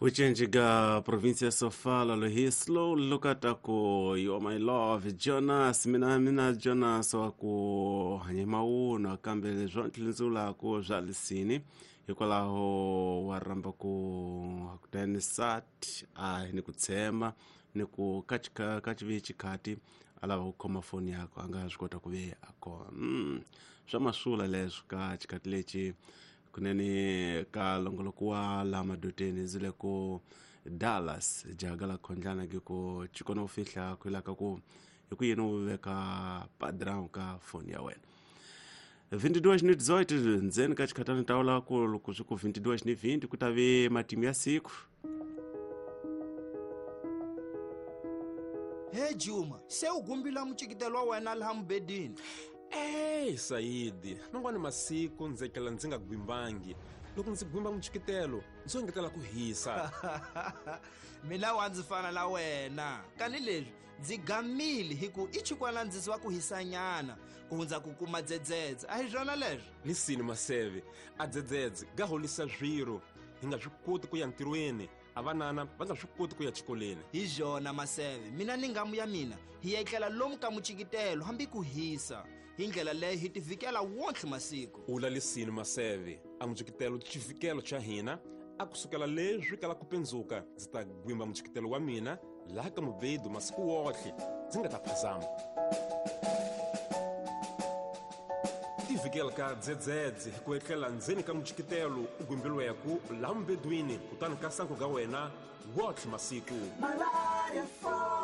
Ucenjiga província Sofala lohi slow lokata ku you are my love Jonas mina mina Jonas wa ku hanye mawunwa kambe leswo ntlindzulaku swa lisini hikwalaho wa rhamba ku hakutani sat a ni ku tshemba ni ku ka ka xivi xikhati a lava ku khoma foni yakwe a nga swi kota ku ve a kona swa masula leswi ka xikhati lexi kunene ka longoloko wa laha madoteni ndzi le ku Dallas jaga la khondlana ke ku chikona u fihla ku ilaka ku hi ku yini u veka padrau ka foni ya wena 22:18 ndzeni ka xikhatani tawula ku loko swi ku 22:20 ku ta ve matimu ya siku. He Juma, se u gumbila mucikitelo wa wena laha mubedini. Ey Sayidi, man'wani masiku ndzi etlela ndzi nga gwimbangi. Loko ndzi gwimba mucikitelo, ndzi engetela ku hisa. Mina wa ndzi fana na wena. Kani leswi ndzi gamile hi ku i chikwana ndzi wa ku hisanyana ku hundza ku kuma dzedzedze. A hi swona leswo? Lisini Maseve, a dzedzedze ga holisa swiro. Hi nga swi koti ku ya ntirhweni, a vanana va nga swi koti ku ya xikolweni. Hi byona Maseve, mina ni ngamu ya mina hi etlela lomu ka mucikitelo hambi ku hisa. Hi ndlela leyo hi tivikela wontlhe masiku. Ula lisini Maseve, a mucikitelo xivikelo xa hina a kusukela leswi kala ku pendzuka ndzi ta gwimba mucikitelo wa mina laha ka mubedu masiku wotlhe ndzi nga ta phazama. Tivikela ka dzedzedze hi ku etlela ndzeni ka mucikitelo u gwimbiliweku laha mubedwini kutani ka sanku ga wena wotlhe masiku. Malaria 4.